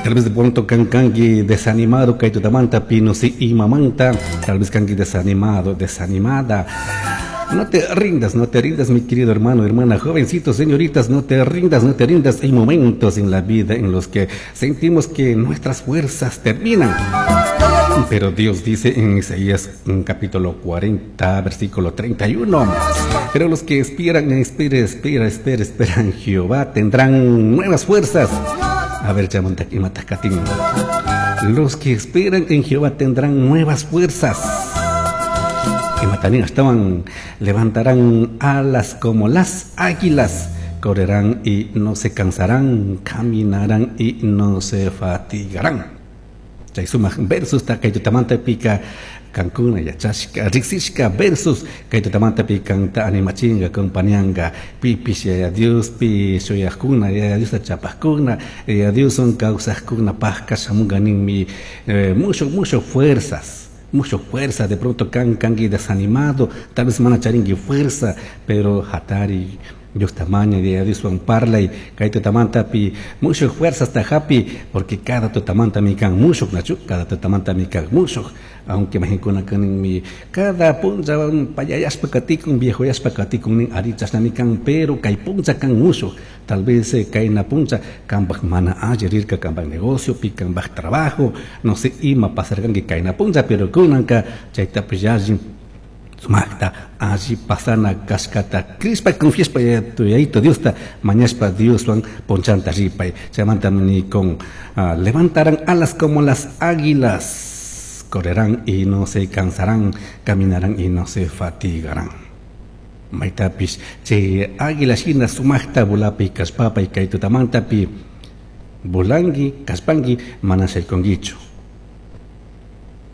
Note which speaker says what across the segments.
Speaker 1: Tal vez de pronto kan kanki desanimado kay tutamanta pi no sé imamanta, tal vez kanki desanimado, desanimada. No te rindas, no te rindas, mi querido hermano, hermana, jovencitos, señoritas, no te rindas, no te rindas. Hay momentos en la vida en los que sentimos que nuestras fuerzas terminan. Pero Dios dice en Isaías capítulo 40, versículo 31: "Pero los que esperan, espera, espera, espera, esperan Jehová, tendrán nuevas fuerzas". A ver, imatakatin. Los que esperan en Jehová tendrán nuevas fuerzas. Imatanin estaban, levantarán alas como las águilas, correrán y no se cansarán, caminarán y no se fatigarán. Chay sumak versus ta kay tutamanta pika kankuna yachashka riksishka versus kay tutamanta pi kanta animachinga, compañanga pipish Yaya Dios pi shuyajkuna, Yaya Diosta chapajkuna, Yaya Dioswan kawsajkuna pajka shamunga ninmi mucho, mucho fuerzas, mucho fuerza. De pronto kan kanki desanimado, tal vez mana charinki fuerza, pero hatari, Dios tamaña, Yaya Dioswan parlay kay tutamanta pi, mucho fuerzas ta hapi, porque cada tutamanta mi kan mushuk, nachu? Cada tutamanta mi kan mushuk, aunque majinkuna kanin mi cada puncha payayashpa katikun, viejoyashpa katikun nin, ari chashnami kan, pero kay puncha kan mushuk. Tal vez kayna puncha kanpak mana alli rirka, kanpak negocio pi, kanpak trabajo, no sé ima pasarkanki kayna puncha, pero kunanka chaytapish yalli sumakta alli pasana kashkata crishpa, confiashpa Yayito Diosta mañashpa, Dioswan punchanta ripay. Chaymanta ni con levantarán alas como las águilas, correrán y no se cansarán, caminarán y no se fatigarán. Maytapish chay águila shina sumakta vulapi kashpapay kay tutamantapi vulanki kashpanki mana shaykunkichu,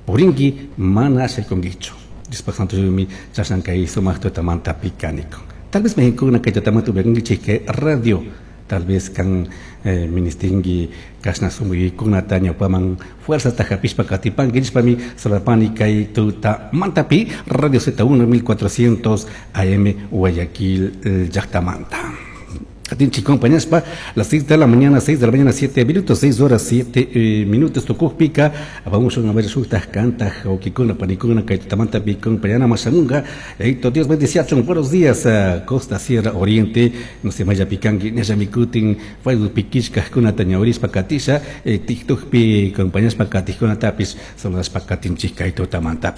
Speaker 1: purinki mana shaykunkichu. Diospak santo shimi chashna kay sumak tutamanta pikanikun. Tal vez mexincuna kay tutamanta upiankichik kay radio, tal vez kan ministinki kashna sumuykunata ñawpaman fuerzata hapishpa katipanki nishpami saludapani kay tutamantapi Radio Z1 1400 AM Guayaquil llaktamanta. Katinchi compañaspa, las 6 de la mañana, 6 de la mañana, 7 minutos, 6 horas, 7 minutos, tukukpika, vamos a ver shuktaj kantaj, okikuna, panikuna, kay tutamanta pi compañana mashamunga, eito Dios bendiciachun, buenos días, Costa Sierra Oriente, no se maya pikanki, nesha mikutin, Facebook pikishka, kunata ñawrispa katisha, TikTok pi compañaspa katijkuna tapis, saludaspa katinchik kay tutamanta.